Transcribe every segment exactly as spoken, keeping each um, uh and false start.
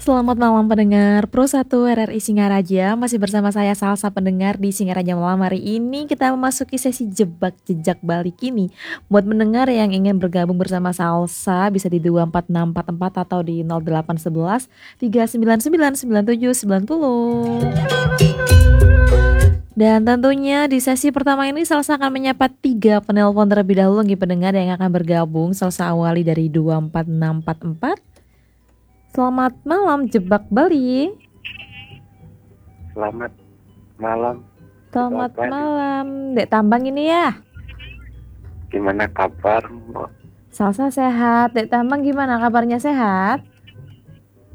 Selamat malam pendengar Pro satu R R I Singaraja. Masih bersama saya Salsa pendengar di Singaraja malam hari ini. Kita memasuki sesi jebak jejak Bali kini. Buat pendengar yang ingin bergabung bersama Salsa bisa di dua empat enam empat empat atau di nol delapan sebelas tiga sembilan sembilan sembilan tujuh sembilan puluh. Dan tentunya di sesi pertama ini Salsa akan menyapa tiga penelpon terlebih dahulu nggih pendengar yang akan bergabung. Salsa awali dari dua empat enam empat empat. Selamat malam Jebak Bali. Selamat malam. Selamat malam. Dek Tambang ini ya. Gimana kabar, Mbok? Salsa sehat. Dek Tambang gimana kabarnya, sehat?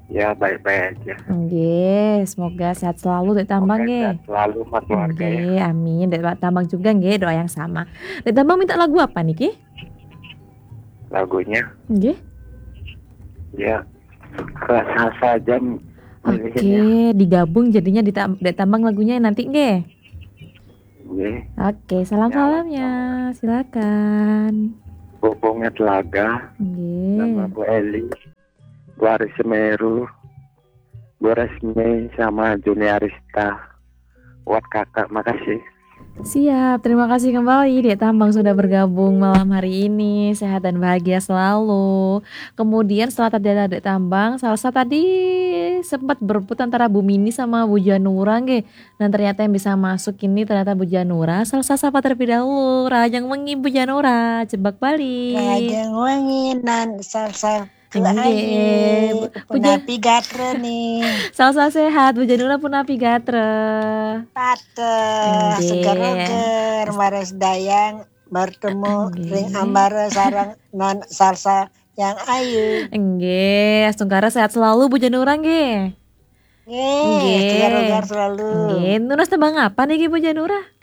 Ya, baik-baik aja. Nggih, semoga sehat selalu Dek Tambang Oke, nggih. Sehat selalu sama keluarga ya. Nggih, amin. Dek Tambang juga nggih, doa yang sama. Dek Tambang minta lagu apa niki? Lagunya Nggih. ya Salsa aja Oke, pilihinnya. Digabung jadinya di Tam- Dek Tambang lagunya nanti nggih. Nggih. Oke, salam Ya, salamnya. Silakan. Bobonge Telaga, nama Nggih. Bu Eli, Bu Aris Semeru, Bu Resmi sama Juni Arista. Buat kakak, makasih. Siap, terima kasih kembali Dek Tambang sudah bergabung malam hari ini. Sehat dan bahagia selalu. Kemudian setelah tadi ada Dek Tambang, Salsa tadi sempat berebut antara Bu Mini sama Bu Janura nggih. Dan ternyata yang bisa masuk ini ternyata Bu Janura. Salsa sapa terlebih dahulu. Rahajeng wengi Bu Janura, Jebak Bali. Rahajeng wengi nan Salsa Nggih. Ayu. Puja- Punapi gatra nih. Salsa sehat, Bu Janura punapi gatra. Pateh, Nggih. seger-seger, maras dayang, bertemu Nggih. ring ambara sarang non Salsa yang ayu. Nggih, astungkara sehat selalu Bu Janura nggih. Nggih, Nggih. seger-seger selalu. Nggih, nunas tembang apa niki Bu Janura?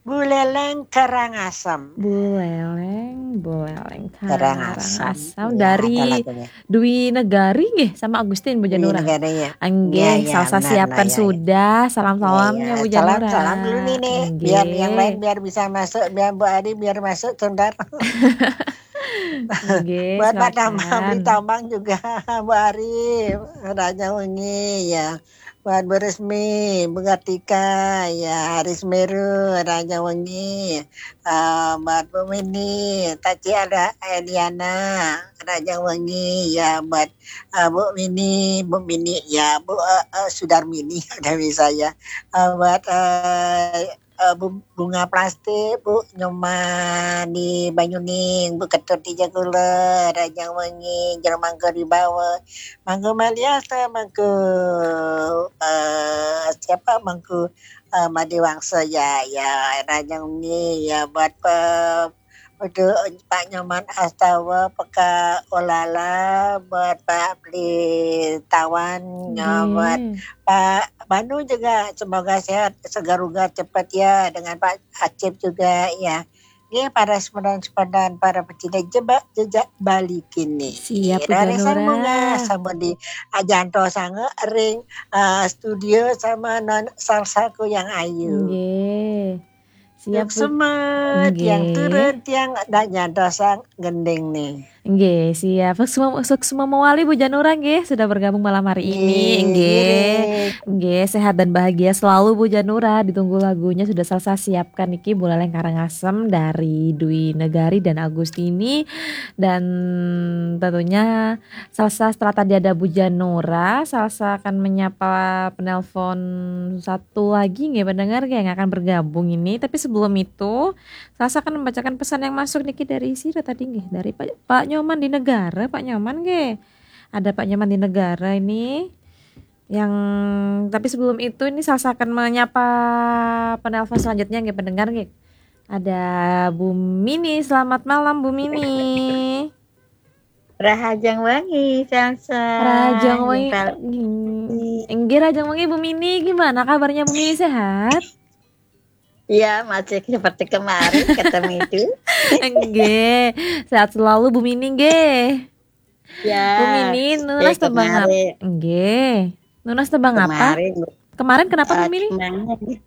Buleleng Karangasem. Buleleng, Buleleng Karangasem. Karangasem Ya, dari ada lagunya. Dwi Negari nggih sama Agustin Bu Dwi Janura. Negari ya. Nggih, Ya, ya, Salsa benar, siapkan nah, ya, ya. sudah. Salam Ya, salamnya ya. Bu Salam, Janura. salam dulu nih, nih. Biar yang Nggih. Lain biar bisa masuk, biar Bu Ari biar masuk sebentar. Nggih, Buat Pak Tambang, silakan. Beli Tambang juga, Bu Ari, Raja Wengi ya. Buat Bu Resmi, Bu Kartika, ya Aris Meru, Raja Wengi. Eh, buat Bu Mini, Taci ada Eliana, Raja Wengi ya. Buat eh, Bu Mini, Bu Mini ya, Bu eh, eh, Sudarmini udah bisa ya. Eh, buat eh, eh, Bu- bunga plastik, Bu Nyoman di Banyuning, Bu Ketut di Jagula, Rajang Wengi, Jero Mangga di Bawa, Mangga Maliasa, Mangga eh, siapa Mangga eh, Made Wangsa ya, ya Rajang Wengi ya buat pe, Pak Nyoman Astawa, Peka Olala, buat Pak Beli Tawan, ya, buat Nggih. Pak Banu juga semoga sehat, segar-ugar cepat ya dengan Pak Acip juga ya. Nggih, para responden, para pecinta jebak jejak Bali kini. Siap, Bu Rare Janura. Sambunga, sambung di Ajanto Sange Ring eh, studio sama non Salsaku yang ayu. Nggih. Siap, Yang Bu. semet, yang Nggih. turun, yang dan yang dosang gending nih. Nggih, siap. Suksma, suksma mewali Bu Janura nggih sudah bergabung malam hari ini. Nggih, Nggih. nggih. Nggih, sehat dan bahagia selalu Bu Janura. Ditunggu lagunya sudah Salsa siapkan niki Buleleng Karangasem dari Dwi Negari dan Agustini. Dan tentunya Salsa setelah tadi ada Bu Janura, Salsa akan menyapa penelpon satu lagi nggih pendengar nggih yang akan bergabung ini. Tapi sebelum itu, Salsa akan membacakan pesan yang masuk niki dari sira tadi nggih, dari Pak, Pak Nyoman di Negara, Pak Nyoman nggih. Ada Pak Nyoman di Negara ini. Yang tapi sebelum itu ini Salsa akan menyapa penelpon selanjutnya nggih pendengar nggih. Ada Bu Mini, selamat malam Bu Mini. Rahajeng wengi, Salsa. Rahajeng wengi. Jumpa. Nggih, rahajeng wengi Bu Mini, gimana kabarnya Bu Mini, sehat? Iya, masih seperti kemarin ketemu itu. Nggih, sehat selalu Bu Mini nggih. Ya. Bu Mini, nunas eh, tembang apa? kemarin, Nggih. Nunas tembang apa? kemarin, Kemarin kenapa Bu eh, Mini? kemarin,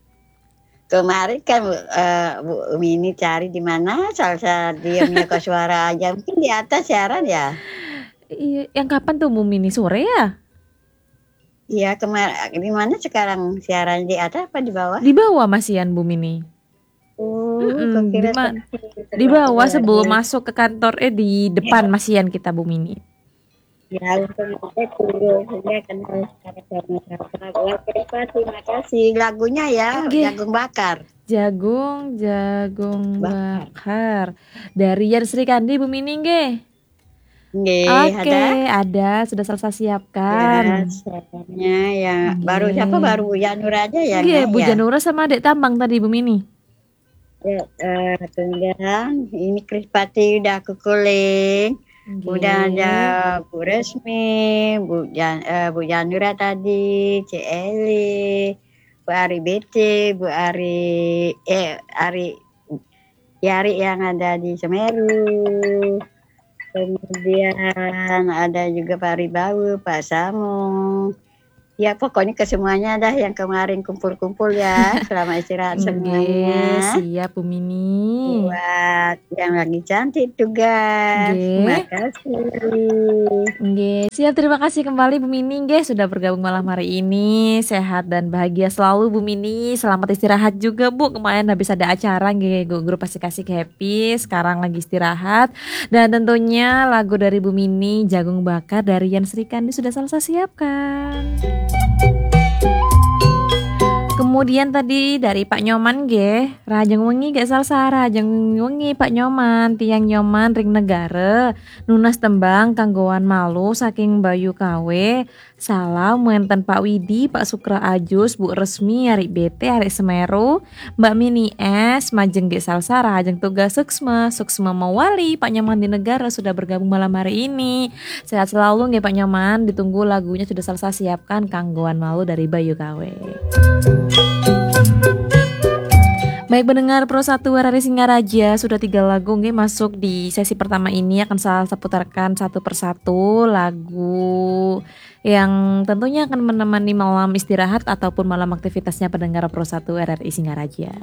kemarin kan eh, Bu Mini cari di mana Salsa dia punya suara aja. Mungkin di atas siaran ya. Iya, yang kapan tuh Bu Mini, sore ya? Iya, kemarin di mana sekarang siaran, di atas apa di bawah? Di bawah masian, Bu Mini. Oh, Mm-mm, kukira di ma- sampai Di bawah keluar. Sebelum masuk ke kantor, eh, di depan masian kita, Bu Mini. Ya, untung aja dulu, sehingga kenal sama-sama. Oke, Pak, terima kasih. Lagunya ya, Oke. Jagung Bakar. Jagung, jagung Bakar. bakar. Dari Yan Sri Kandi, Bu Mini nggih. Nggih, Oke, ada. ada, sudah Salsa siapkan. Ya, siapnya ya. Nggih. Baru siapa? Baru Bu Janura aja ya, Nggih, Nggak, Bu ya? Janura sama Dek Tambang tadi, Bu Mini. Ya, eh, tunggang. Ini Krispati udah kukuling. Nggih. Udah ada Bu Resmi, Bu Jan, eh, Bu Janura tadi, Cik Eli, Bu Ari B T, Bu Ari, eh, Ari, Yari yang ada di Semeru. Kemudian ada juga Pak Ari Bawu, Pak Samu. Ya, pokoknya ke semuanya dah yang kemarin kumpul-kumpul ya. Selamat istirahat Nggih, semuanya. Siap, Bu Mini. Buat yang lagi cantik tugas. Nggih. Makasih. Nggih, siap, terima kasih kembali Bu Mini nggih sudah bergabung malam hari ini. Sehat dan bahagia selalu, Bu Mini. Selamat istirahat juga, Bu. Kemarin habis ada acara nggih, gu- grup Asik-Asik Happy. Sekarang lagi istirahat. Dan tentunya lagu dari Bu Mini, Jagung Bakar dari Yan Sri Kandi sudah Salsa siapkan. Kemudian tadi dari Pak Nyoman nggih, rahajeng wengi nggih Salsa, rahajeng wengi Pak Nyoman, tiyang Nyoman ring Negara, nunas tembang kanggoan malu saking Bayu Kawe. Salam wenten Pak Widi, Pak Sukra Ajus, Bu Resmi, Arik B T, Arik Semeru, Mbak Mini S, majeng nggih Salsa, rahajeng tugas suksma, suksma mawali, Pak Nyoman di Negara sudah bergabung malam hari ini. Sehat selalu nggih Pak Nyoman, ditunggu lagunya sudah Salsa siapkan, kanggoan malu dari Bayu Kawe. Baik pendengar Pro satu R R I Singaraja, sudah tiga lagu nggih masuk di sesi pertama ini, akan Salsa putarkan satu persatu lagu yang tentunya akan menemani malam istirahat ataupun malam aktivitasnya pendengar Pro satu R R I Singaraja.